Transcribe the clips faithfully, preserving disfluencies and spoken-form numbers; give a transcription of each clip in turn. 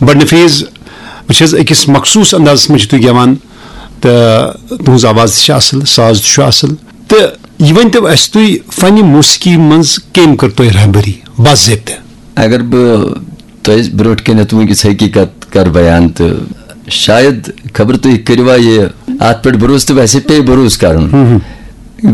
بڑٕ نفیٖذ۔ وٕچھ حظ، أکِس مخصوٗص اندازس منٛز چھِو تُہۍ گٮ۪وان، تہٕ تُہٕنٛز آواز تہِ چھِ اَصٕل، ساز تہِ چھُ اَصٕل۔ تہٕ یہِ ؤنۍ تو اَسہِ تُہۍ، فنِ موسیقی منٛز کٔمۍ کٔر تۄہہِ رہبری باضٲبطہٕ؟ اگر بہٕ تۄہہِ برونٛٹھ کَنٮ۪تھ وٕنکیٚس حقیٖقت کَرٕ بیان، تہٕ شاید خبر تُہۍ کٔرِوا یہِ اَتھ پٮ۪ٹھ بھروسہٕ، تہٕ ویسے پیٚیہِ بھروسہٕ کَرُن۔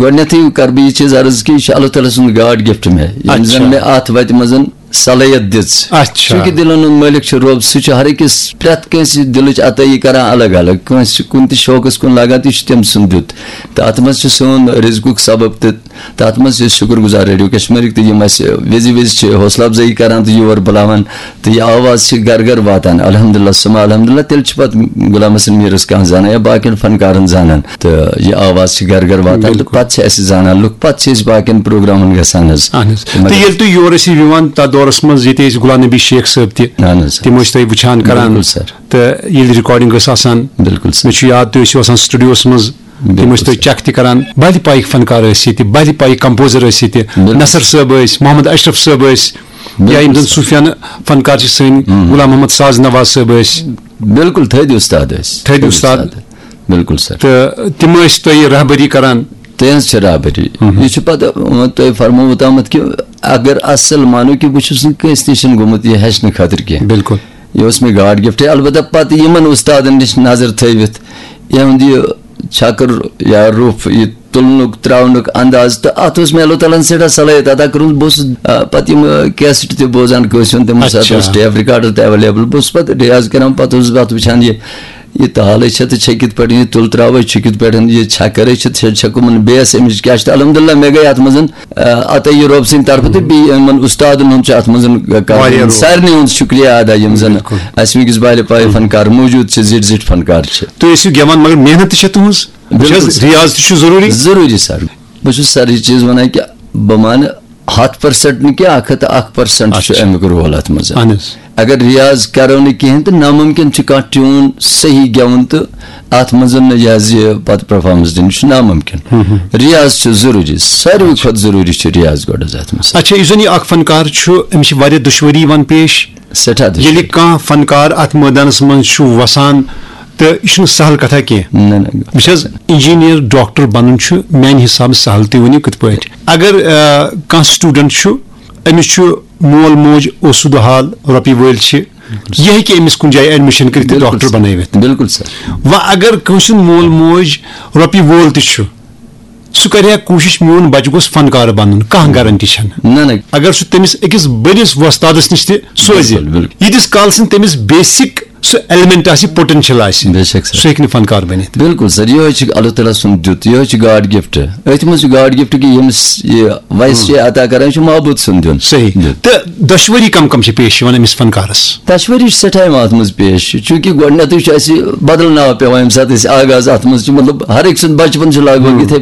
گۄڈٕنیتھٕے کَرٕ بہٕ یہِ چیٖز عرض کہِ یہِ چھُ اللہ تعالیٰ سُنٛد گاڈ گفٹ مےٚ، ییٚمۍ زَن اچھا۔ مےٚ اَتھ وَتہِ منٛز صلٲحیت دِژ۔ اچھا۔ چوٗنٛکہِ دِلَن ہُنٛد مٲلِک چھُ رۄب، سُہ چھُ ہر أکِس پرٛٮ۪تھ کٲنٛسہِ دِلٕچ عطٲیی کران الگ الگ، کٲنٛسہِ چھُ کُنہِ تہِ شوقَس کُن لگان، تہِ چھُ تٔمۍ سُنٛد دیُت۔ تہٕ اَتھ منٛز چھُ سون رِزقُک سبب تہِ، تہٕ اَتھ منٛز چھِ أسۍ شُکُر گُزار ریڈیو کشمیٖرٕکۍ تہٕ یِم اَسہِ وِزِ وِزِ چھِ حوصلہٕ افزٲیی کران تہٕ یور بُلاوان، تہٕ یہِ آواز چھِ گرٕ گرٕ واتان۔ الحمدللہ ثم الحمدللہ، تیٚلہِ چھِ پتہٕ غلام حسن میٖرس کانٛہہ زانان یا باقین فنکارن زانان، تہٕ یہِ آواز چھِ گرٕ گرٕ واتان تہٕ بِلکُل۔ پتہٕ چھِ اَسہِ زانان لُکھ، پتہٕ چھِ أسۍ باقین پروگرامن گژھان حظ۔ اہن حظ۔ تہٕ مگر ییٚلہِ تُہۍ یور ٲسِو یِوان تتھ دورس منٛز، ییٚتہِ ٲسۍ غلام نبی شیخ صٲب تہِ، اہن حظ۔ تِم ٲسۍ تۄہہِ وٕچھان کران۔ بِلکُل سر۔ تہٕ ییٚلہِ ریکارڈنگ ٲس آسان، بِلکُل سر۔ مےٚ چھُ یاد، تُہۍ ٲسِو آسان سٹوڈیوس منٛز، تِم بِلکُل ٲسۍ تۄہہِ سر۔ چیک تہِ کران۔ بہلہِ پایِکۍ فنکار ٲسۍ ییٚتہِ، بہلہِ پایِکۍ کمپوزر ٲسۍ ییٚتہِ، بِلکُل نصر سر۔ صٲب ٲسۍ، محمد اشرف صٲب ٲسۍ، بِلکُل یا یِم زن سر۔ صوٗفیانہٕ فنکار چھِ سٲنۍ، ہم۔ غلام محمد ساز نواز صٲب ٲسۍ۔ بِلکُل تھٔدۍ اُستاد ٲسۍ۔ تھٔدۍ اُستاد۔ بِلکُل سر۔ تہٕ تِم ٲسۍ تۄہہِ رہبری کران۔ تہنٛز چھِ رہبری۔ مہم۔ یہِ چھُ پتہٕ، وۄنۍ تۄہہِ فرمووُ تامَتھ کہِ اگر اصل مانو کہِ بہٕ چھُس نہٕ کٲنٛسہِ نِش گوٚمُت یہِ ہیٚچھنہٕ خٲطرٕ کینٛہہ۔ بِلکُل۔ یہِ اوس مےٚ گاڈ گفٹ۔ البتہ پتہٕ یِمن اُستادن نِش نظر تھٲوِتھ، یِہُنٛد یہِ چھکر یا روٚف، یہِ تُلنُک، تراونُک انداز، تہٕ اتھ اوس مےٚ اللہ تعالیٰ ہن سٮ۪ٹھاہ صلٲحیت عطا کٔرمٕژ۔ بہٕ اوسُس، آ، پتہٕ یِم، آ، کیسٹ تہِ بوزان کٲنٛسہِ ہُنٛد، تِمن ساتہٕ اوس اچھا۔ ٹیپ ریکارڈر تہِ اویلیبل۔ بہٕ اوسُس پتہٕ ریاض کران، پتہٕ اوسُس بہٕ اتھ وٕچھان، یہِ یہِ تالے چھےٚ تہٕ چھےٚ کِتھ پٲٹھۍ، یہِ تُل تراوے چھُ کِتھ پٲٹھۍ، یہِ چھکرے چھِ، چھےٚ چھےٚ کٕمن بیس امِچ کیٛاہ چھِ۔ تہٕ الحمدللہ مےٚ گٔے اتھ منٛز، آ، عطا یہِ رۄب سٕنٛدِ طرفہٕ تہٕ بیٚیہِ یِمن اُستادن ہُنٛد چھُ اتھ منٛز کرُن۔ واریاہ رول۔ سارنٕے ہُنٛد شُکریہ ادا، یِم زن بِلکُل۔ اسہِ وٕنکیٚس بالہِ پایہِ فنکار موٗجوٗد چھِ، زِٹھۍ زِٹھۍ فنکار چھِ۔ تُہۍ ٲسِو گٮ۪وان، مگر محنت تہِ چھےٚ تُہٕنٛز۔ بِلکُل وٕچھ حظ، سر۔ ریاض تہِ چھُ ضروٗری۔ ضروٗری سر۔ بہٕ چھُس سر یہِ چیٖز ونان کہِ بہٕ مانہٕ ہتھ پرسنٹ نہٕ کینٛہہ، اکھ ہتھ تہٕ اکھ پرسنٹ چھُ اچھا۔ امیُک رول اتھ منٛز۔ اہن حظ۔ اگر ریاض کرو نہٕ کِہینۍ تہٕ ناممکن چھُ کانٛہہ ٹیوٗن صحیح گٮ۪وُن تہٕ اتھ منٛز نہٕ یہِ حظ یہِ پتہٕ پرفارمنس دِنۍ، یہِ چھُ ناممکن۔ ہم ہم۔ ریاض چھُ ضروٗری، ساروٕے کھۄتہٕ ضروٗری چھُ ریاض گۄڈٕ حظ اتھ منٛز۔ اچھا، یُس زن یہِ اکھ فنکار چھُ، أمِس چھِ واریاہ دُشوٲری یِوان پیش۔ سٮ۪ٹھاہ دُشوٲری۔ ییٚلہِ کانٛہہ فنکار اتھ مٲدانس منٛز چھُ وسان، تہٕ یہِ چھُنہٕ سہل کتھا کینٛہہ۔ نہ، نہ۔ وٕچھ حظ، انجینئر، ڈاکٹر بنُن چھُ میانہِ حسابہٕ سہل، تُہۍ ؤنِو کِتھ پٲٹھۍ؟ اگر، آ، کانٛہہ سٹوڈنٹ چھُ، أمِس چھُ مول موج اوسُدٕ حال، رۄپیہِ وٲلۍ چھِ، یہِ ہیٚکہِ أمِس کُنہِ جایہِ ایڈمِشن کٔرِتھ تہٕ بِلکُل ڈاکٹر سر۔ بنٲوِتھ۔ بِلکُل سر۔ وۄنۍ اگر کٲنٛسہِ ہُنٛد مول موج رۄپیہِ وول تہِ چھُ، سُہ کرِ ہا کوٗشِش میون بچہٕ گوٚژھ فنکار بنُن، کانٛہہ گارنٹی چھنہٕ۔ نہ، نہ۔ اگر سُہ تٔمِس أکِس بٔڑِس وۄستادس نِش تہِ سوزِ، بِلکُل، بِلکُل۔ ییٖتِس کال سُہ تٔمِس بیسک سُہ ایلیمنٹ آسہِ، پوٹینشل آسہِ، بے شک سر۔ سُہ ہیٚکہِ نہٕ فنکار بٔنِتھ۔ بِلکُل سر، یِہوٚے چھُ اللہ تعالیٰ سُنٛد دیُت، یِہوٚے چھُ گاڈ گفٹ۔ أتھۍ منٛز چھُ گاڈ گفٹ کہِ ییٚمِس یہِ ویس چھِ عطا کران، یہِ چھُ معبوٗد سُنٛد دیُن۔ صحیح۔ دیُن۔ تہٕ دۄشوٕری کم کم چھِ پیش یِوان أمِس فنکارس؟ دۄشوٕری چھِ سٮ۪ٹھاہ یِوان اتھ منٛز پیش، چوٗنٛکہِ گۄڈٕنیتھٕے چھُ اَسہِ بدل ناو پٮ۪وان ییٚمہِ ساتہٕ أسۍ آغاز اتھ منٛز چھِ، مطلب، ہر أکۍ سُنٛد بچپن چھُ لگ بگ یِتھے